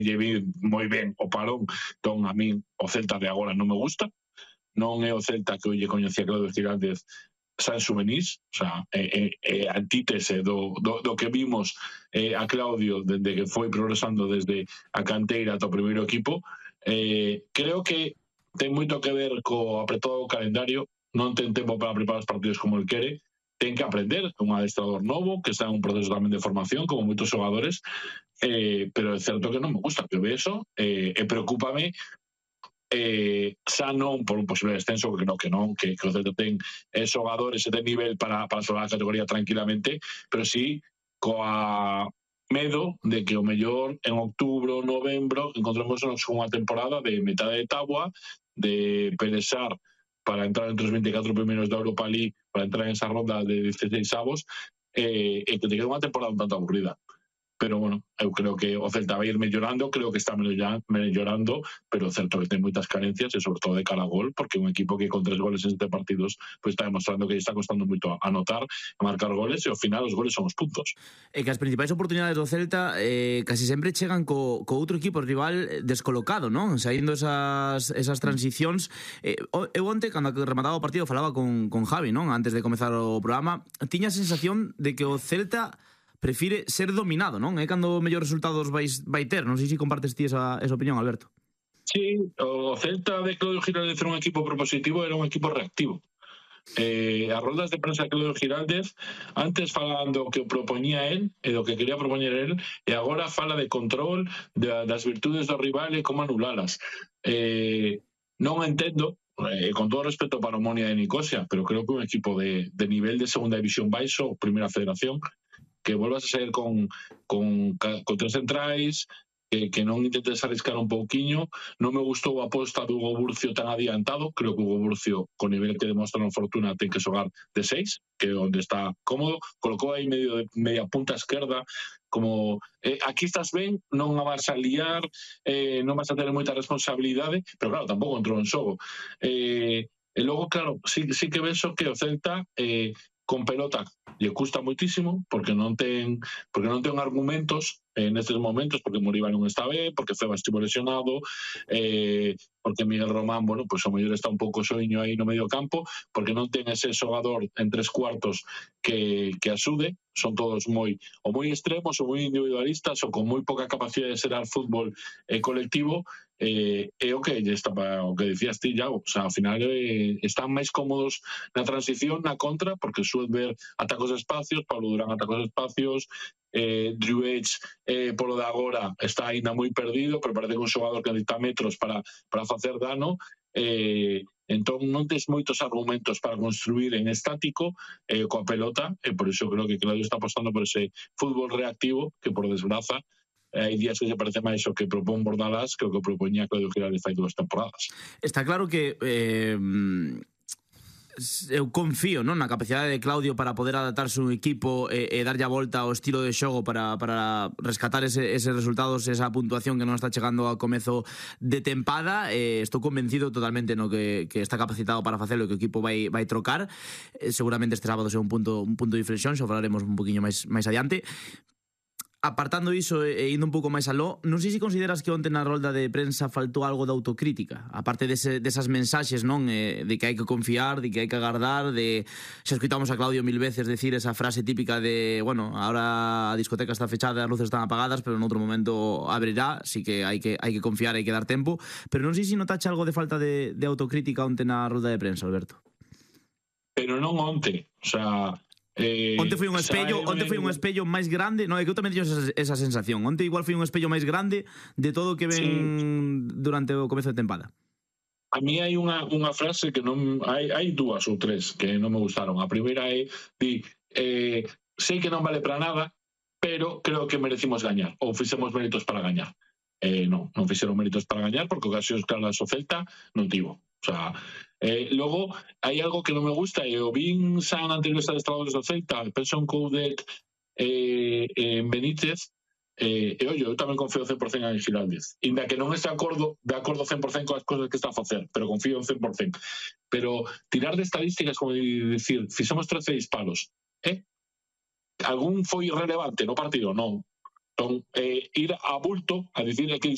lle vi moi ben o parón, entón a min o Celta de agora non me gusta, non é o Celta que lle coñecía Claudio Giraldez San Xuvenís, o sea, antítese do que vimos a Claudio dende que foi progresando desde a canteira ata o primeiro equipo. Creo que ten moito que ver co apretado calendario, non ten tempo para preparar os partidos como el quere, ten que aprender, un adestrador novo que está en un proceso tamén de formación como moitos xogadores, pero é certo que non me gusta que ve eso, e preocúpame xa non por un posible descenso, porque que o Celta ten xogadores e ten nivel para xogar a categoría tranquilamente, pero sí coa medo de que o mellor en outubro, novembro encontremos unha temporada de metade de táboa, de pelexar para entrar entre os 24 primeiros da Europa League, para entrar en esa ronda de 16 avos, e que te quede unha temporada un tanto aburrida. Pero bueno, eu creo que o Celta vai ir mellorando, creo que está mellorando, pero certo que ten moitas carencias e sobre todo de cara a gol, porque un equipo que con 3 goles en 7 partidos pues está demostrando que está costando moito anotar, a marcar goles, e ao final os goles son os puntos. E que as principais oportunidades do Celta casi sempre chegan co outro equipo rival descolocado, non? Saindo esas transicións. Eu onte, cando remataba o partido, falaba con Javi, non? Antes de comezar o programa, tiña a sensación de que o Celta prefire ser dominado, non? É cando mellores resultados vai ter. Non sei se compartes ti esa opinión, Alberto. Sí, o Celta de Claudio Giraldez era un equipo propositivo, era un equipo reactivo. As roldas de prensa de Claudio Giraldez antes falan do que propoñía él e do que quería propoñer él, e agora fala de control das virtudes do rival e como anulalas. Non entendo, con todo respeto para Omonia de Nicosia, pero creo que un equipo de nivel de segunda división baixo, primeira federación, que volvas a sair con 3 centrais, que non intentes arriscar un pouquiño. Non me gustou a aposta do Hugo Burcio tan adiantado, creo que Hugo Burcio, con nivel que demostra na Fortuna, ten que xogar de 6, que é onde está cómodo, colocou aí media punta esquerda, como aquí estás ben, non a vas a liar, non vas a ter moita responsabilidade, pero claro, tampouco entrou en xogo. E logo, claro, sí que vexo que o Celta con pelota lle custa moitísimo, porque non ten argumentos nestes momentos, porque Moriba non está ben, porque Feba estivo lesionado, porque Miguel Román, bueno, pues o mellor está un pouco soiño aí no medio campo, porque non ten ese xogador en 3/4 que axude, son todos moi extremos, ou moi individualistas, ou con moi pouca capacidade de xerar fútbol colectivo, e o que decías ti, Iago, o sea, ao final están máis cómodos na transición, na contra, porque Suedberg ataca os espacios, Pablo Durán ataca os espacios, Drew Edge polo de agora está ainda moi perdido, pero parece que un xogador que necesita metros para facer dano, entón non tes moitos argumentos para construir en estático coa pelota, e por iso creo que Claudio está apostando por ese fútbol reactivo, que por desgraza hai días que se parece máis o que propón Bordalás que o que propoñía Claudio Giraldez fai 2 temporadas. Está claro que eu confío, non, na capacidade de Claudio para poder adaptarse un equipo e darlle a volta ao estilo de xogo para rescatar eses resultados, esa puntuación que non está chegando ao comezo de tempada. Estou convencido totalmente no que está capacitado para facelo e que o equipo vai trocar. Seguramente este sábado sea un punto de inflexión, xa falaremos un poquinho máis adiante. Apartando iso e indo un pouco máis aló, non sei se consideras que onte na rolda de prensa faltou algo de autocrítica, aparte desas mensaxes, non, de que hai que confiar, de que hai que agardar, de xa escuitamos a Claudio 1000 veces decir esa frase típica de, bueno, ahora a discoteca está fechada, as luces están apagadas, pero en outro momento abrirá, así que hai que confiar, hai que dar tempo, pero non sei se notache algo de falta de autocrítica onte na rolda de prensa, Alberto. Pero non onte, o sea, onte foi un espello máis grande, non, é que eu tamén teño esa sensación. Onte igual foi un espello máis grande de todo o que ven durante o comezo de tempada. A mí hai unha frase que non hai 2 ou 3 que non me gustaron. A primeira é sei que non vale para nada, pero creo que merecimos gañar, ou fixemos méritos para gañar. Non fixeron méritos para gañar, porque ocasións claras o Celta non tivo. O sea, logo hai algo que non me gusta, e o vin xa na entrevista de Estradores do Celta, penso en Coudec en Benítez, e ollo, eu tamén confío 100% en Giraldez, inda que non este de acordo 100% coas cosas que está a facer, pero confío en 100%. Pero tirar de estadísticas, como dicir, fixemos 13 disparos, algún foi relevante no partido? Non. ir a bulto a dicir que